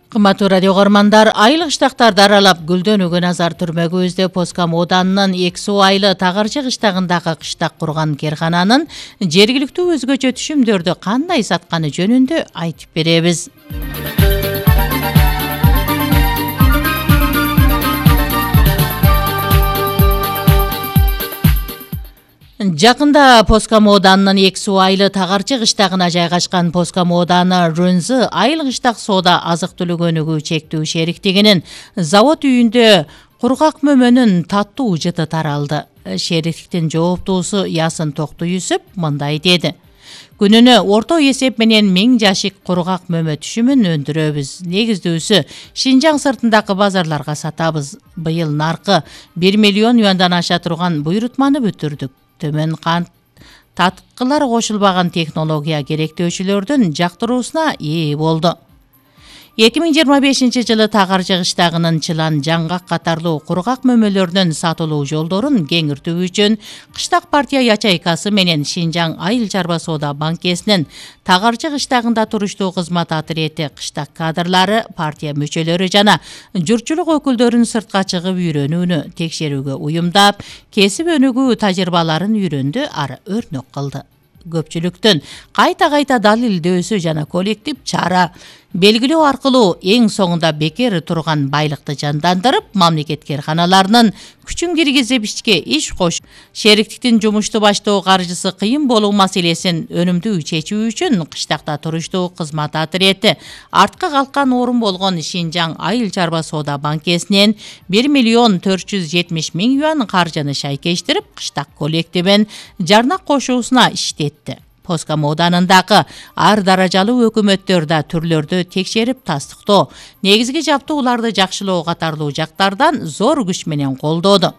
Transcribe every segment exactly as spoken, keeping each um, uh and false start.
Кымбаттуу радио көрөрмандар, айыл кыштактарды аралап гүлдөнүүгө назар түрмөгүбүздө Поска мооданынын эки суу айылы Тагарчы кыштагындагы кыштак курган керкананын жергиликтүү өзгөчө түшүмдөрдү кандай сатканы жөнүндө айтып беребиз. Жакында Поска мооданынын эки суу айылы Тагарчы кыштагына жайгашкан Поска мооданы Рунзы айыл кыштак соода азык-түлүк өнүгүү чектүү шериктигинин завод үйүндө кургак мөмөнүн таттуу жыты таралды. Шериктиктин жооптуусу Ясын Токту Юсуп мындай деди: Күнүнө орто эсеп менен миң жашик кургак мөмө түшүмүн өндүрөбүз. Негиздүүсү Шинжаң сыртындагы базарларга сатабыз. Быйыл наркы бир миллион юандан аша турган буйрутманы бүтүрдүк. Төмөн кант таткылар кошулбаган технология керектөөчүлөрдүн жактыруусуна ээ болду. эки миң жыйырма бешинчи жылы Тагарчы кыштагынын чылан, жаңгак катарлуу кургак мөмөлөрдүн сатылуу жолдорун кеңиртүү үчүн Кыштак партия ячейкасы менен Шинжаң айыл чарба соода банкесинин Тагарчы кыштагында туруштуу кызмат отделети кыштак кадрлары, партия мүчөлөрү жана журтчулук өкүлдөрүн сыртка чыгып үйрөнүүнү текшерүүгө уюмдап, кесип өнүгүү тажрыйбаларын үйрөндү, ары өрнөк кылды. Көпчүлүктүн кайта-кайта далилдөөсү жана коллектив чара белгилөө аркылуу эң соңунда бекер турган байлыкты жандандырып, мамлекет керканаларынын күчүн киргизип ишке иш кош, шериктиктин жумушту баштоо каржысы кыйын болуу маселесин өнүмдүү чечүү үчүн кыштакта туруштуу кызмат отделети артка калкан орун болгон Шинжаң айыл чарба соода банкесинен бир миллион төрт жүз жетимиш миң юан каржыны шайкештирип, кыштак коллективин жарнак кошуусуна иштетти. Поска мооданындагы ар даражалуу өкмөттөрдө түрлөрдү текшерип тастыктоо, негизги жаптууларды жакшылоо катарлуу жактардан зор күч менен колдоду.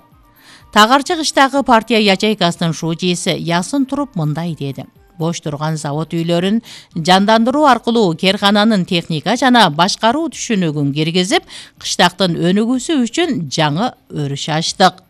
Тагарчы кыштагы партия ячейкасынын шужиси Ясын туруп мындай деди: Бош турган завод үйлөрүн жандандыруу аркылуу керкананын техника жана башкаруу түшүнүгүн киргизип, кыштактын өнүгүүсү үчүн жаңы өрүш ачтык.